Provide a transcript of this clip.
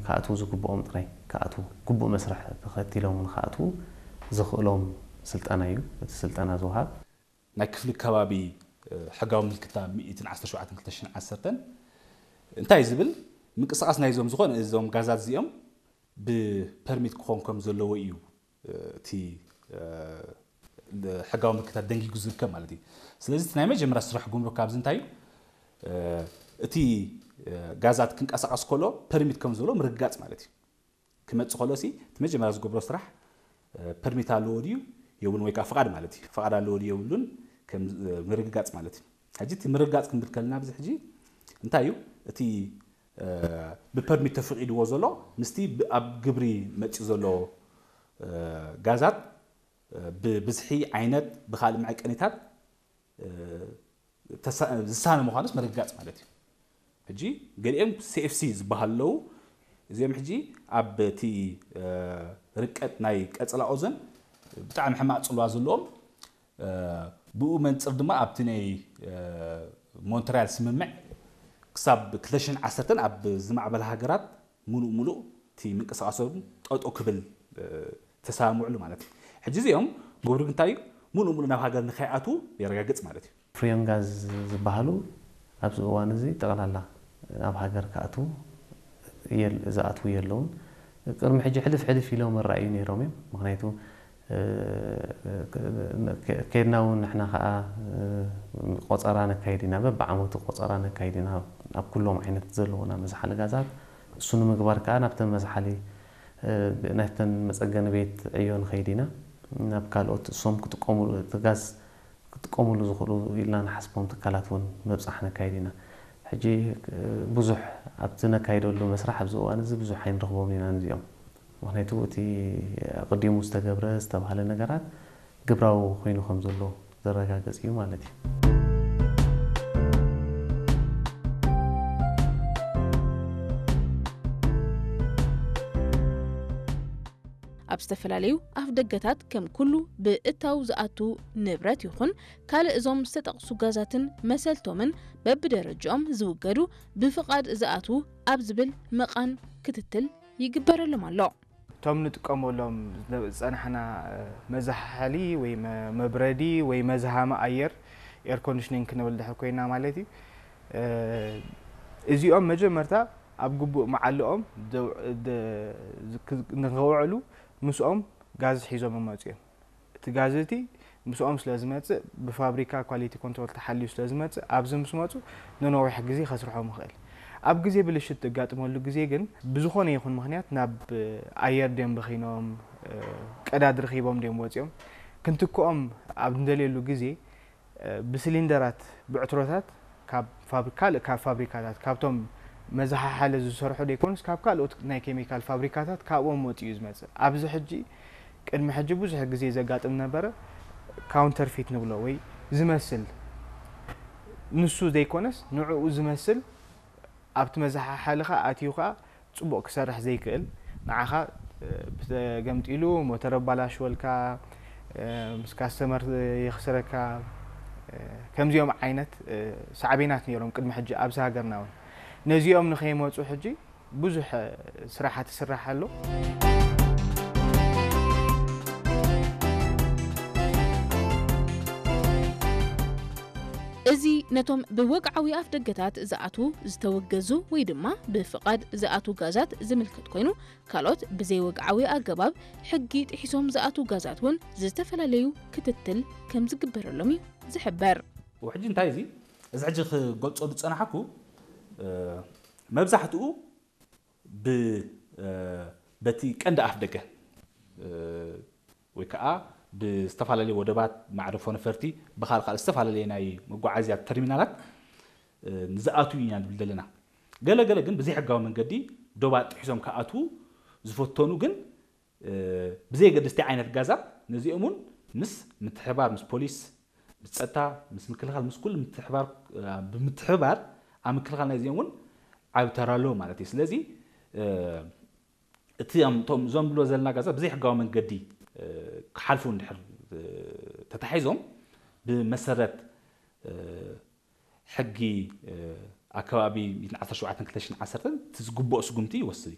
ክኣትዉ ዝግብኦም ጥራይ ክኣትዉ፣ ግቡእ መስርሕ ተኸቲሎም እውን ክኣትዉ ዘኽእሎም ስልጠና እዩ። እቲ ስልጠና ዝወሃብ ናይ ክፍሊ ከባቢ ሕጋዊ ምልክታ ሚእትን ዓሰርተ ሸውዓተን ክልተ ሽሕን ዓሰርተን እንታይ ዝብል ምንቅስቃስ ናይዞም ዝኾነ እዞም ጋዛት እዚኦም ብፐርሚት ክኾን ከም ዘለዎ እዩ እቲ ሕጋዊ ምልክታት ደንጊጉ ዝርከብ ማለት እዩ። ስለዚ እቲ ናይ መጀመርያ ስራሕ ጉምሩክ ካብዚ እንታይ እዩ? እቲ ጋዛት ክንቀሳቀስ ከሎ ፐርሚት ከም ዘለዎ ምርግጋጽ ማለት እዩ። ክመጽእ ከሎ ሲ እቲ መጀመርያ ዝገብሮ ስራሕ ፐርሚት ኣለዎ ድዩ የብሉን ወይ ከዓ ፍቃድ ማለት እዩ። ፍቃድ ኣለዎ ድዩ የብሉን ከም ምርግጋጽ ማለት እዩ። ሕጂ እቲ ምርግጋጽ ክንብል ከለና ኣብዚ ሕጂ እንታይ እዩ እቲ ብፐርሚት ተፈቂድዎ ዘሎ ምስቲ ኣብ ግብሪ መጺኡ ዘሎ ጋዛት ብብዝሒ ዓይነት ብካልእ መዐቀኒታት ዝሳነ ምዃኑስ ምርግጋጽ ማለት እዩ። ሕጂ ገሊኦም ሲ ኤፍ ሲ ዝበሃሉ ኣለዉ። እዚኦም ሕጂ ኣብ እቲ ርቀት ናይ ቀጽላ ኦዞን ብጣዕሚ ሕማቕ ጽልዋ ዘለዎም ብኡ መንጽር ድማ ኣብቲ ናይ ሞንትሪያል ስምምዕ ክሳብ ክልተ ሽሕን ዓሰርተን ኣብ ዝማዕበላ ሃገራት ሙሉእ ሙሉእ እቲ ምንቅስቃሶም ጠጦ ክብል ተሰማምዕሉ ማለት እዩ። ሕጂ እዚኦም ጉምሩክ እንታይ እዩ ሙሉእ ሙሉእ ናብ ሃገር ንኸይኣትዉ የረጋግጽ ማለት እዩ። ፍሪዮን ጋዝ ዝበሃሉ ኣብዚ እዋን እዚ ጠቕላላ ናብ ሃገር ክኣትዉ ዝኣትዉ የለውን። ቅድሚ ሕጂ ሕልፍ ሕልፍ ኢሎም ራእዩ ነይሮም እዮም። ምክንያቱ ከድና እውን ንሕና ከዓ ቆፀራ ነካይድ ኢና፣ በብዓመቱ ቆፀራ ነካይድ ኢና ኣብ ኩሎም ዓይነት ዘለዉና መዝሓሊ ጋዛት። እሱ ንምግባር ከዓ ናብተን መዝሓሊ ናብተን መፀገኒ ቤት ዕዮ ንኸይድ ኢና። ናብ ካልኦት እሶም ክጥቀሙሉ እቲ ጋዝ ክጥቀሙሉ ዝኽእሉ ኢልና ንሓስቦም ትካላት እውን ምብፃሕ ነካይድ ኢና። ሕጂ ብዙሕ ኣብቲ ነካይደሉ መስርሕ ኣብዚ እዋን እዚ ብዙሕ ኣይንረኽቦም ኢና ነዚኦም። ምክንያቱ እቲ ኣቐዲሙ ዝተገብረ ዝተባህለ ነገራት ግብራዊ ኮይኑ ከም ዘሎ ዘረጋግጽ እዩ ማለት እዩ። ኣብ ዝተፈላለዩ ኣፍ ደገታት ከም ኩሉ ብእታው ዝኣቱ ንብረት ይኹን ካልእ እዞም ዝተጠቕሱ ጋዛትን መሰልቶምን በብደረጃኦም ዝውገዱ ብፍቓድ ዝኣትዉ ኣብ ዝብል መቓን ክትትል ይግበረሎም ኣሎ። እቶም ንጥቀመሎም ዝጸናሕና መዛሓሊ ወይ መብረዲ ወይ መዝሃሚ ኣየር ኤር ኮንዲሽኒንግ ክንብል ድሕር ኮይና ማለት እዩ። እዚኦም መጀመርታ ኣብ ግቡእ መዓልኦም ንኸውዕሉ ምስኦም ጋዝ ሒዞም ይመፁ እዮም። እቲ ጋዝ እቲ ምስኦም ስለ ዝመፅእ ብፋብሪካ ኳሊቲ ኮንትሮል ተሓልዩ ስለ ዝመፅእ ኣብዚ ምስ መፁ ንነዊሕ ግዜ ከስርሖም ይኽእል። ኣብ ግዜ ብልሽት እጋጥመሉ ግዜ ግን ብዝኾነ ይኹን ምኽንያት ናብ ኣየር ድዮም በኺኖም ቀዳድ ረኺቦም ድዮም ወፂኦም ክንትክኦም ኣብ ንደልየሉ ግዜ ብሲሊንደራት ብዕትሮታት ካብ ፋብሪ ካልእ ካብ ፋብሪካታት ካብቶም መዘሓሓሊ ዝሰርሑ ደይኮኑስ ካብ ካልኦት ናይ ኬሚካል ፋብሪካታት ካብኦም ወፂኡ እዩ ዝመፅእ። ኣብዚ ሕጂ ቅድሚ ሕጂ ብዙሕ ግዜ ዘጋጥም ነበረ። ካውንተርፊት ንብሎ ወይ ዝመስል ንሱ ዘይኮነስ ንዕኡ ዝመስል ኣብቲ መዘሓሓሊ ኸዓ ኣትዩ ኸዓ ፅቡቕ ክሰርሕ ዘይክእል ንዓኻ ብተገምጢሉ ሞተር ኣባላሽወልካ ምስ ካስተመር የኽስረካ ከምዚኦም ዓይነት ሳዕቤናት ነይሮም ቅድሚ ሕጂ ኣብዚ ሃገርና እውን ነዚኦም ንኸይመፁ ሕጂ ብዙሕ ስራሓት ይስራሕ ኣሎ። እዚ ነቶም ብወግዓዊ ኣፍደገታት ዝኣትዉ ዝተወገዙ ወይ ድማ ብፍቓድ ዝኣትዉ ጋዛት ዝምልከት ኮይኑ ካልኦት ብዘይወግዓዊ ኣገባብ ሕጊ ጥሒሶም ዝኣትዉ ጋዛት እውን ዝተፈላለዩ ክትትል ከም ዝግበረሎም እዩ ዝሕበር። ሕጂ እንታይ እዚ እዚ ሕጂ ክገልጾ ዝጸናሕኩ መብዛሕትኡ ብ በቲ ቀንዲ ኣፍ ደገ ወይ ከዓ ብዝተፈላለዩ ወደባት መዕረፎ ነፈርቲ ብካል ካልእ ዝተፈላለየ ናይ መጓዓዝያ ተርሚናላት ንዝኣትዉ ኢና ንብል ዘለና። ገለ ገለ ግን ብዘይሕጋዊ መንገዲ ዶባት ጥሒሶም ክኣትዉ ዝፈተኑ ግን ብዘየገድስቲ ዓይነት ጋዛት ነዚኦም እውን ምስ ምትሕባር ምስ ፖሊስ ምስ ፀጥታ ምስ ምክልኻል ምስ ኩሉ ምትሕባር ብምትሕባር ኣብ ምክልኻል ናይዚኦም እውን ዓብ ተራ ኣለዎ ማለት እዩ። ስለዚ እቲ እቶም እዞም ብሎ ዘለና ጋዛት ብዘይሕጋዊ መንገዲ ክሓልፉ እንድሕር ተታሒዞም ብመሰረት ሕጊ ኣከባቢ ሚእትን ዓሰርተ ሸውዓተን ክልተ ሽሕን ዓሰርተን እቲ ዝግብኦ ስጉምቲ ይወስድ እዩ።